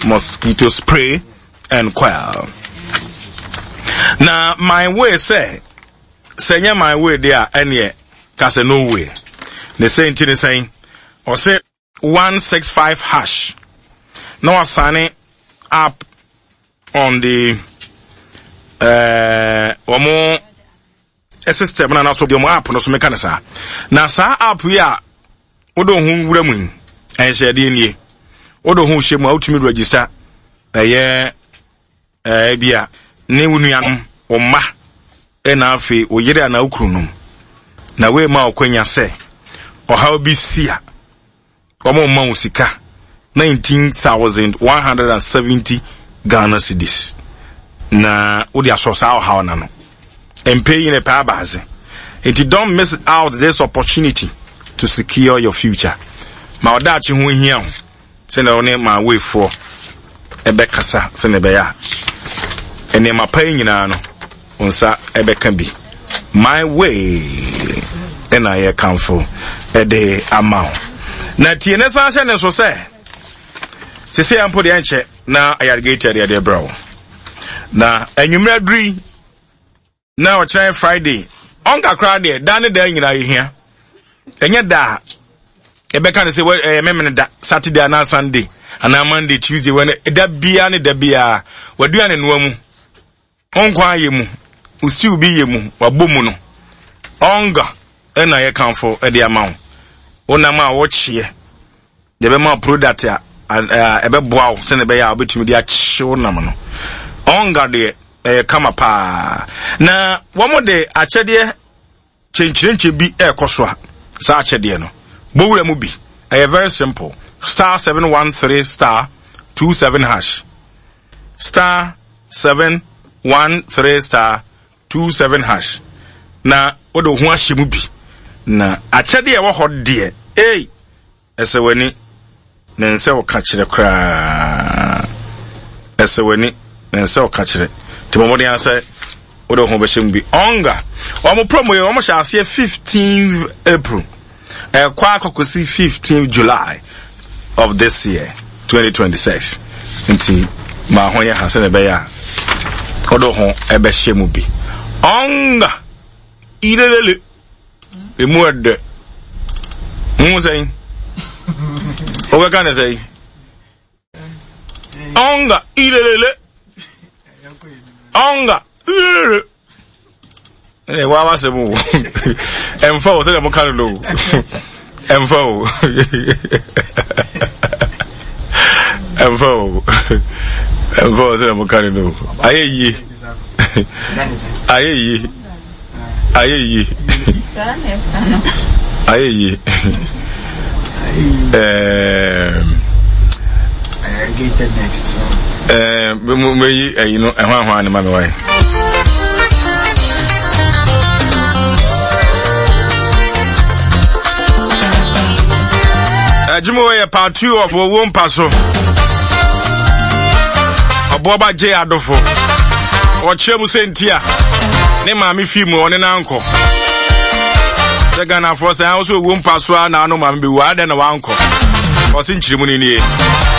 mosquito spray and coil. Na my way sɛ sɛ nyɛ my way deɛ a ɛneɛ ka sɛ no way. Ne sɛ nti ne sɛn ɔsɛ 165 hash na wasane up on the wɔn system na anaso deɛ wɔn app no so meka ne saa na saa app yi a wode wo ho wura mu yi ɛnhyɛdeɛ nie wode wo ho hyɛ mu a wotumi register ɛyɛ ɛɛ bi a ne wo nuanom wo mma ɛna afei wo yere anaa wo kunu nom na wei ma ɔkwanya sɛ ɔhaw bi si a Wɔn mma wo sika 19,170 Ghana cedis na wode asɔ saa ɔhaw no ano. Mpɛ yi na ɛpɛ abaase. Nti don't miss out this opportunity to secure your future. Ma ɔdaakye ho hia ho sɛnea wo ne ma weifoɔ ɛbɛkasa sɛnea ɛbɛyɛ a nneɛma pa yi nyinaa no Wo nsa bɛka bi. My way ɛna yɛkamfo ɛde ama wo. Na tie ne san hyɛ ne nso sɛ sese yɛn mpo deɛ nkyɛ na ayarigate deɛ deɛ brɛ wo. Na anwummerɛ aduru yi na ɔkyerɛ Friday ɔnka koraa deɛ da ne da nyinaa yɛhia. Ɛnyɛ da a yɛbɛka no sɛ ɛyɛ memene da Saturday anaa Sunday anaa Monday Tuesday wɛn da biara ne da biara waduane noa mu. Wo nkwa ayɛ mu, wo siw bi yɛ mu, wabɔ mu no, ɔnga na yɛkamfo de ama wo. Wo nam a wokyeɛ, deɛ ɛbɛma wo product a ɛbɛboa wo sɛnea ɛbɛyɛ a wobɛtumi de akye wo nam no. Ɔnga deɛ ɛyɛ kama paa. Na wɔn de akyɛdeɛ Kyenkyerenkye bi ɛrekɔ so a, saa akyɛdeɛ no, bɔ wura mu bi. Ɛyɛ very simple. Star 713 star 27 hash. Star 713 star 27 hash. Na wode wo ho ahyɛ mu bi. Na akyɛdeɛ ɛwɔ hɔ deɛ, ei! Ɛsɛ w'ani, na ɛnsɛ wo ka kyerɛ koraa. Ɛsɛ w'ani, na ɛnsɛ wo ka kyerɛ. Nti bɔ mmɔden ara sɛ wode wo ho bɛhyɛ mu bi. Ɔnga, wɔn promo yi, wɔn hyɛ aseɛ 15 April. Ɛkɔ akɔkɔsi 15 July of this year, 2026. Nti ma ho yɛ ha sɛdeɛ ɛbɛyɛ a wode wo ho ɛbɛhyɛ mu bi. Ɔnga, ilelele. Emu ɛdɛ. Mu sɛn? Wobɛka ne sɛn? Ɔnga ilelele. Ɔnga ilelele. Ɛnna ɛwɔ awasɛm o. Ɛmfa o sɛdeɛ moka no no o. Ɛmfa o. Ɛmfa o. Ɛmfa o sɛdeɛ moka no no o. Ayɛ yie. Ayɛ yie. Ayɛ yie. Ayɛ yie. Ɛɛm. Meyi ɛyi no ɛho ahoa ne ma mi wae. Adwuma wɔ yɛ part two of owó mpa so. Ɔboaba gye adofo. Ɔkyerɛ mu sɛ nti a ne maame fi mu ɔne n'ankɔ. Sɛ Ghanafoɔ sɛ ahosuo owó mpa so a na ano maame bɛwu adɛn na wankɔ. Ɔse nkyerɛ mu no nie.